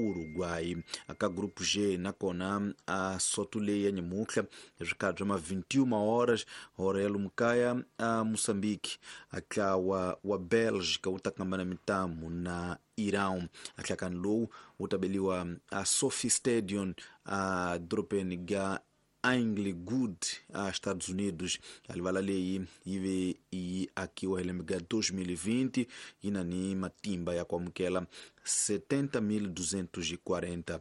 Uruguay. Ka grupo G nakona a soto leyi ya nyamutlha hi swikhathi swa ma 21 horas hora ya lomu kaya a Moçambique, a ntlawa wa Belgica wu ta kambana mitamu na Irão. A nhlakano lowu wu ta beliwa a Sophie Stadium a dorobeni ga Inglewood a Estados Unidos. A livala leyi yi ve yi akiwa hi lembe ga 2020, yi na ni matimba ya ku amukela 70.240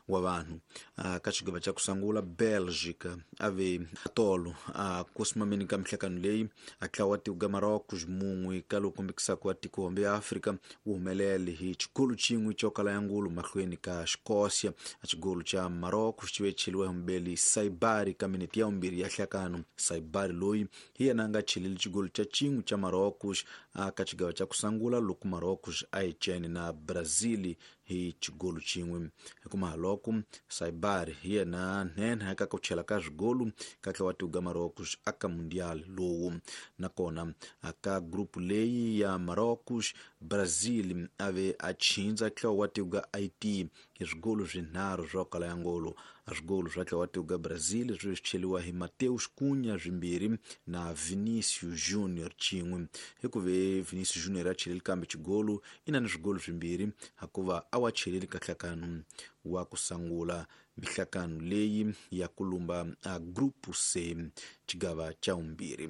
wa vanhu. Ka xigava xa ku sungula Belgica a ve tolo a kusimameni ka mihlakano leyi a tlawa tiko ga Marocos mun'we ka lowu kombekisaka wa tiko hombe ya Afrika wu humelele hi xigolo xin'we xo kala ya ngulu mahlweni ka Escócia. A xigolo xa Marocos xi ve cheliwa hi mubeli Saibari ka minete ya vumbirhi ya hlakano. Saibari loyi hi yena a nga cheleli xigolo xa xin'we xa Marocos a ka xigava xa ku sungula loko Marocos a yi cene na Brazil hi xigolo xin'we. Hikumaha loko Saibari hi yena nhenha eka ku chela ka swigolo ka tlawa tiko ga Marocos aka Mundial lowu. Nakona aka grupu leyi ya Marocos, Brazil a ve a chindza tlawa wa tiko ga Haiti hi swigolo swinharhu swa kala ya ngolo. A swigolo swa tlawa tiko ga Brazil swi cheliwa hi Mateus Cunha swimbirhi na Vinicius Junior xin'we. Hi ku ve Vinicius Junior a cheleli kambe xigolo i na ni swigolo swimbirhi hikuva a wa cheleli ka nhlakano wa ku sungula mihlakano leyi ya ku lumba a grupo C xigava xa vumbirhi.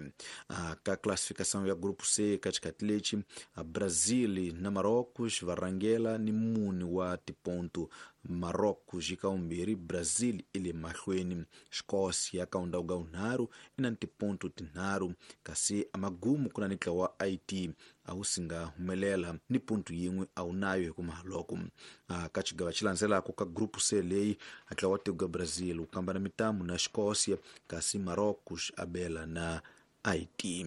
Ka classificação ya grupo C ka xikhathi lexi a Brazil na Marocos va rhangela ni mune wa tiponto. Marocos yi ka vumbirhi, Brazil i le mahlweni. Escócia ka ndhawu ga vunharhu i na ni tiponto tinharhu, kasi amagumu ku na ni ntlawa wa Haiti a wu si nga humelela ni ponto yin'we a wu nayo hi ku loko. Ka xigava xi landzelaka ka grupo C leyi a ntlawa wa tiko ga Brazil wu kambana mitamu na Escócia, kasi Marocos a bela na Haiti.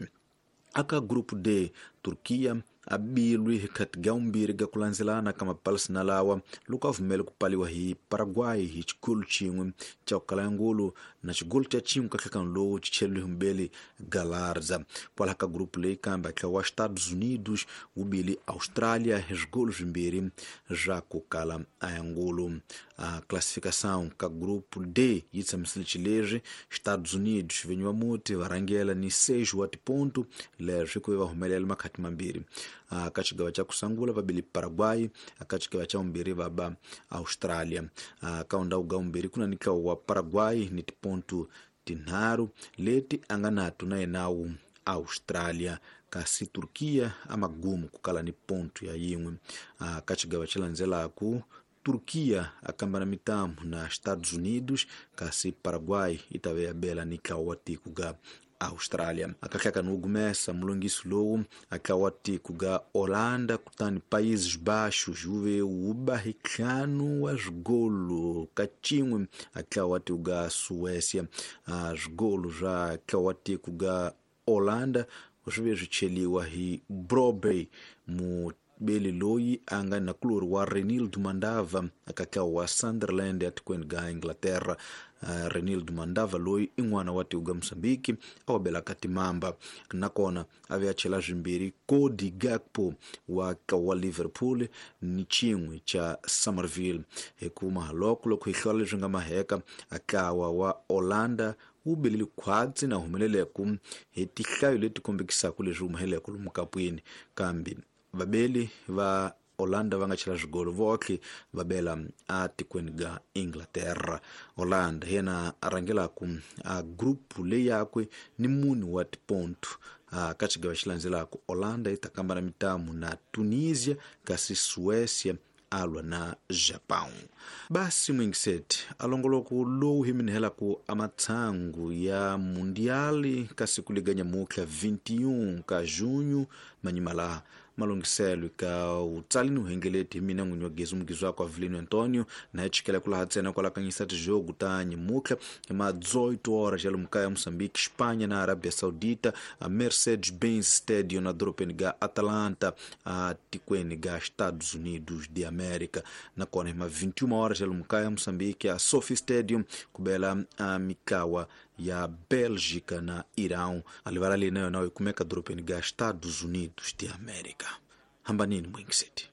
Aka grupo D, Turkiya a bilwi hi khati ga vumbirhi ga ku landzelana ka mapalesina lawa loko a vumele ku paliwa hi Paraguay hi xigolo xin'we xa ku kala ya ngulu na xigolo xa xin'we ka nhlekano lowu xi cheliwe hi mubeli Galarza. Kwalaho ka grupu leyi kambe ntlawa wa Estados Unidos wu bile Australia hi swigolo swimbirhi swa ku kala a ya ngulu. A classificação ka grupo D yi tshamisile xileswi: Estados Unidos vinyi va muti va rhangela ni 6 wa tiponto leswi ku ve va humelela makhati mambirhi. Ka xigava xa ku sungula va bile Paraguay, ka xigava xa vumbirhi va ba Australia. Ka ndhawu ga vumbirhi ku na ni ntlawa wa Paraguay ni tiponto tinharhu leti a nga nato na yenawu Australia, kasi Turkiya a magumu ku kala ni ponto ya yin'we. Ka xigava xi landzelaku Turkiya a kambana mitamu na Estados Unidos, kasi Paraguay yi ta ve ya bela ni ntlawa wa tiko ga Australia. Akahlakani wo gumesa mulongisi lowu a ntlawa wa tiko ga Holanda kutani Países Baixos wu ve wu ba hi ntlhanu wa swigolo ka xin'we a ntlawa wa tiko ga Suécia. Swigolo swa ntlawa wa tiko ga Holanda swi ve swi cheliwa hi Brobey mubeli loyi a nga nakulori wa Renildo Mandava aka ntlawa wa Sunderland etikweni ga Inglaterra. Renildo Mandava loyi i n'wana wa tiko ga Mozambique a wa belaka timamba, nakona a ve a chela swimbirhi Cody Gakpo wa ntlawa wa Liverpool ni xin'we xa Somerville. Hi kuma loko loko hi hlola leswi nga maheka, a ntlawa wa Holanda wu belele khwatsi na humeleleku hi tihlayo leti kombekisaka leswi humeleleke lomu kapwini, kambe vabeli va Holanda va nga chela swigolo votlhe va bela a tikweni ga Inglaterra. Holanda hi yena a rhangelaku a grupu leyi yakwe ni mune wa tiponto. Ka xigava xi landzelaka Holanda yi ta kambana mitamu na Tunisia, kasi Suécia a lwa na Japão. Basi mwingiseti a longoloko lowu hi minihelaku a matshangu ya Mundiali ka siku liga nyamutlha 21 ka junho manyima laha malunghiselo ka utsalini uhengeleti hi mina n'winyi wa gezi mugizi wakwe Avelino Antonio na hi chikela ku laha ntsena kwala kanyisa tijogo ta nyamutlha hi ma 18 horas ya lomu kaya Moçambique, Espanha na Arabia Saudita, a Mercedes-Benz Stadium na dorobeni ga Atlanta a tikweni ga Estados Unidos de América. Nakona hi ma 21 horas ya lomu kaya Moçambique, a Sophie Stadium ku bela a mikawa ya Bélgica na Irão. A livala leyi na yona yi kumeka dorobeni ga Estados Unidos de América. Hambanini mwingiseti.